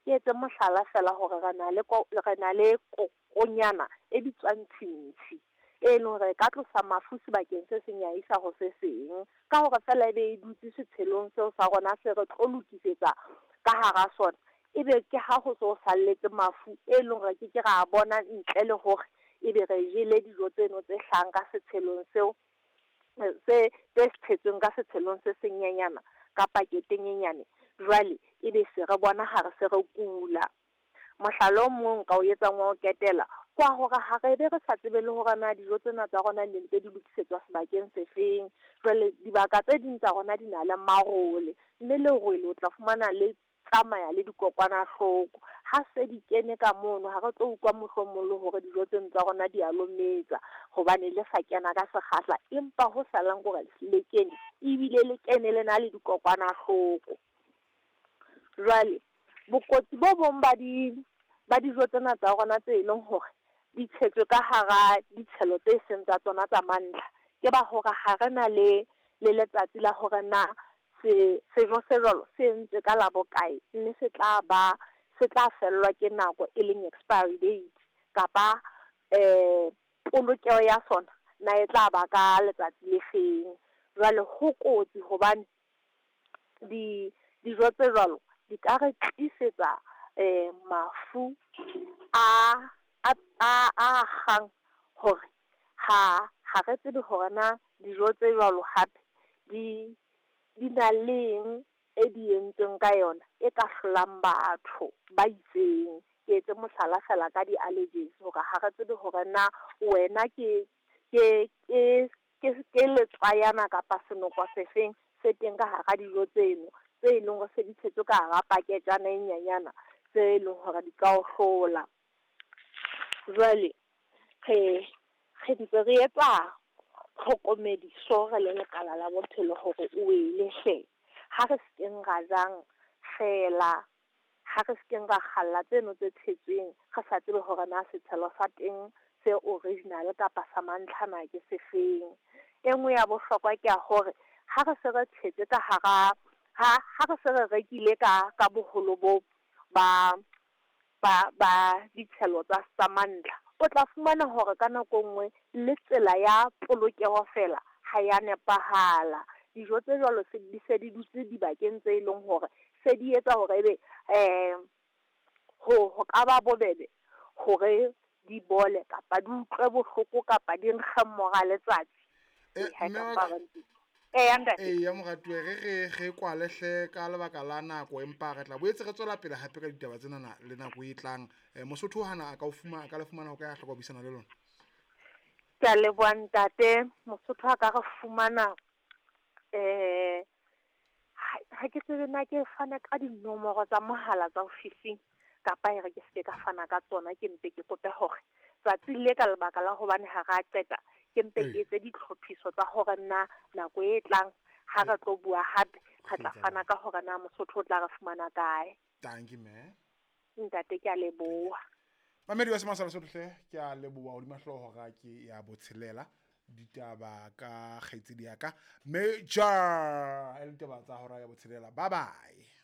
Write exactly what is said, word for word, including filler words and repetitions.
Ke etse mohlala fela hore re na le re na le kokonyana e bitswang tshintshi, e leng hore e ka tlosa mafu sebakeng se seng ya isa ho se seng. Ka hore fela ebe e dutse setshelong seo sa rona se re tlo lokisetsa ka hara sona, ebe ke ha ho so salletse mafu e leng hore ke ke ra bona ntle le hore ebe re jele dijo tseno tse hlahang ka setshelong seo, se tse tshetsweng ka setshelong se senyenyana ka paketeng e nyane. Jwale ebe se re bona ha re se re kula. Mohlala o mong nka o etsang wa ho qetela kwa hore ha re be re sa tsebe le hore na dijo tsena tsa rona di ntse di lokisetswa sebakeng se feng. Jwale dibaka tse ding tsa rona di na le marole, mme lerole o tla fumana le tsamaya le dikokwanahloko. Ha se di kene ka mono, ha re tlo utlwa mohlomong le hore dijo tseno tsa rona di a lometsa hobane le sa kena ka sekgahla, empa ho salang ke hore le kene ebile le kene le na le dikokwanahloko. Jwale bokotsi bo bong ba di ba dijo tsena tsa rona tse leng hore di tshetswe ka hara ditshelo tse seng tsa tsona tsa mantlha, ke ba hore ha re na le le letsatsi la hore na se sejo se jwalo se entswe ka la bokae, mme se tla ba se tla fellwa ke nako e leng expiry date, kapa eh polokeho ya sona na e tla ba ka letsatsi le feng. Jwale ho kotsi hobane di dijo tse jwalo di ka re tlisetsa eh mafu a a a a kgang hore ha ha re tsebe hore na dijo tse jwalo hape di di na leng e di entsweng ka yona e ka hlolang batho ba itseng. Ke etse mohlala fela ka di-allergies, hore ha re tsebe hore na wena ke ke ke ke ke letswayana kapa senoko sefeng se teng ka hara dijo tseno tse leng hore se di tshetswe ka hara paketjana e nyenyana tse leng hore di ka o hlola. Jwale re re ntse re etsa tlhokomediso re le lekala la bophelo hore o wele hle, ha re sekeng ra jang fela, ha re sekeng ra kgalla tseno tse tshetsweng re sa tsebe hore na setshelo sa teng se original kapa sa mantlha na ke sefeng. E nngwe ya bohlokwa ke ya hore ha re se re tshetse ka hara ha ha re se re rekile ka ka boholo bo ba ba ba ditshelo tsa tsa mantlha, o tla fumana hore ka nako e nngwe le tsela ya polokeho fela ha ya nepahala. Dijo tse jwalo se di se di dutse dibakeng tse leng hore se di etsa hore ebe eh ho ho ka ba bobebe hore di bole kapa di utlwe bohloko kapa di nkge mora letsatsi. Eh, Ha e mme ka wa ba ka- ntse. Eh, ntate. Ee, ya moratuwa, re re re kwale hle ka lebaka la nako, empa re tla boetse re tswela pele hape ka ditaba tsena le nako e tlang. Eh, Mosotho hana a ka o fumana, a ka le fumana ho ka ya hloka ho buisana le lona. Ke a leboha ntate. Mosotho a ka re fumana eh ha ha ke tsebe na ke fana ka dinomoro tsa mohala tsa ofising kapa e re ke seke ka fana ka tsona, ke mpe ke kope hore tsatsi le ka lebaka la hobane ha ra qeta ke mpe ke Ee. etse ditlhophiso tsa hore na nako e tlang ha re tlo bua hape re tla Re tla fana ka hore na Mosotho o tla re fumana kae. Thank you, mme. Ntate, ke a leboha. Mamedi wa Semasa Lesotho hle, ke a leboha hodima hlooho hora ke ya botshelela ditaba ka kgaitsedi ya ka Major, e le ditaba tsa hora ya botshelela. Bye bye.